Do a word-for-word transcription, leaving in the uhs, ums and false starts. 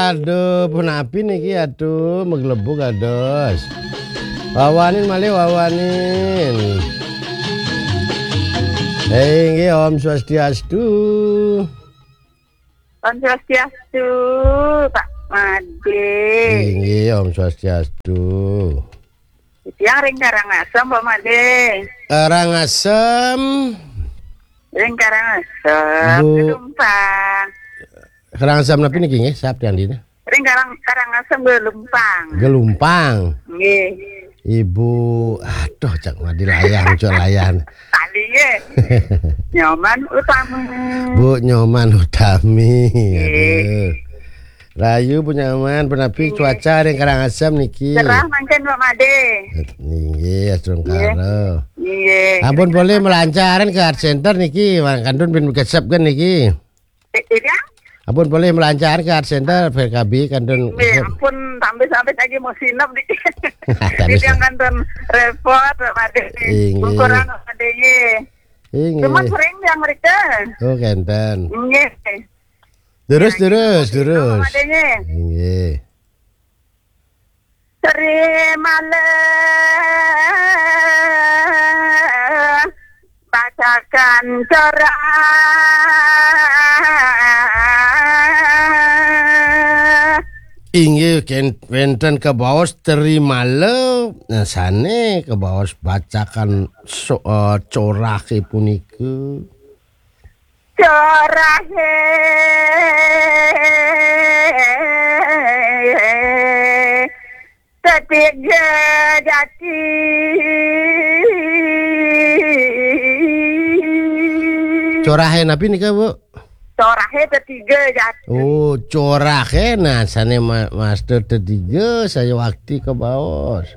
Aduh, punapi niki, aduh, maglebug kados. Wawanin malih, wawanin. Eh, inggih, Om Swastiastu. Om Swastiastu, Pak Made. Inggih, Om Swastiastu. Titiang ring Karangasem, Pak Made. Karangasem. Ring Karangasem, Bu Gelumpang. Karangasem napi niki nggih, sap tiang dina? Ring Karang, Karangasem Gelumpang. Gelumpang. Nggih. Ibu, aduh, cak madi layang, cak layang. Tadi nggih. Nyoman Utami. Bu Nyoman Utami. Nggih. Aduh. Rahayu, Bu Nyoman, punapi Nggih. cuaca ring Karangasem niki? Cerah mangkin, Pak Made. Inggih, astungkara. Nggih. Ampun polih malancaran ke Art Center niki, kantun pun kesep kan niki. Eh, iya? Ampun polih malancaran ke Art Center, P K B kantun Nggih, kesep. Ampun, sampai-sampai lagi mau sinep di. Tadi Jadi yang sa- kantun repot, Pak Made. Inggih. Kurang, Pak Made, nggih. Inggih. Cuma sering yang mereka. Oh, kenten. Nggih. Terus, Nah, terus, gitu. Terus, terus. Pak Made, nggih. Inggih. Sri malih bacakan cerah. Inggih, ken-, wénten kabaos Trimala, nah, sané kabaos bacakan so-, eh, corahé punika. Corahé tetiga jati. Corahé napi nika, Bu? Corahé tetiga jati. Oh, corahé, nah, sané ma-, master tetiga, saya wakti kabaos.